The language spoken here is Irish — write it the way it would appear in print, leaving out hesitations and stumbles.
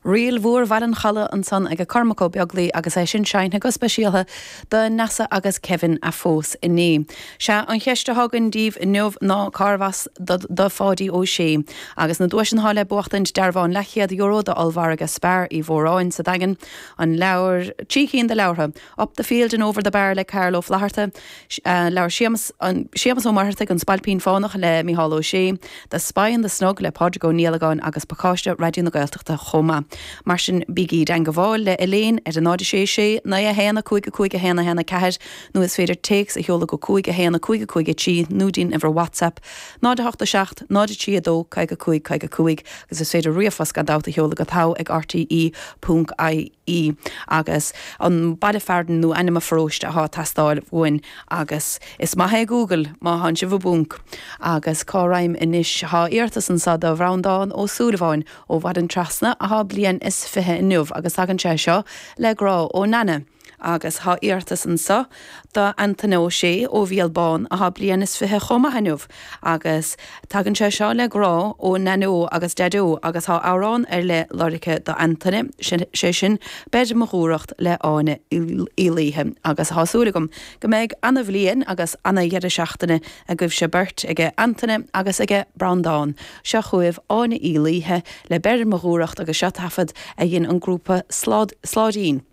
Ríl Mhór Bhaile an Chalaidh ansan age Cormac Ó Beaglaoi agus é sin seinnte go speisialtha do Neasa agus Kevin a phós inné. Sea, an cheist atá againn daoibh inniu ná cárbh as do Pháidí Ó Sé? Agus na duaiseanna atá le buachtaint, dearbhán leathchéad euro d'ollmhargadh Spar Uí Mhóráin sa Daingean, an leabhar, trí cinn de leabhartha, Up the Field and Over the Bar le Carl Ó Flaithearta, leabhar Séamus, Séamus Ó Muircheartaigh, An Spailpín Fánach le Mícheál Ó Sé, The Spy in the Snug le Pádraig Ó Niallagáin agus pacáiste Raidió na Gaeltachta chomh maith. Mar sin bígí i dteangabháil le Elaine ar 0 6 6 9 1 5 5 1 1 4 nó is féidir téacs a sheoladh go 5 1 5 5 3 nó dtí'n uimhir WhatsApp 0 8 7 0 3 2 55 55 agus is féidir ríomhphost gan dabht a sheoladh go togha ag rte ponc ie agus an baile fearainn nó ainm an pharóiste athá ag teastáil uainn agus is maith é Google má thánn sibh i bponc. Agus cá raghaim anois? Thá iarratas anso do Bhreandán Ó Súilleabháin ó Mhaigh Trasna athá bliain is 20 inniu agus tagann sé seo le grá ó Nana. Agus thá iarratas anso do Antaine Ó Sé ó Mhíol Bán athá bliain is 20 chomh maith inniu agus tagann sé seo le grá ó Naineó agus Daideo agus thá amhrán ar leith lorgtha do Antaine, sé sin Beir mo Dhúthracht le Áine Uí Laoithe agus thá súil agam go mbeidh ana bhliain agus ana dheireadh seachtaine agaibhse beirt, aige Antaine agus aige Breandán. Seo chugaibh Áine Uí Laoithe le Beir mo Dhúthracht agus seo taifead a dhein an grúpa Sláidín.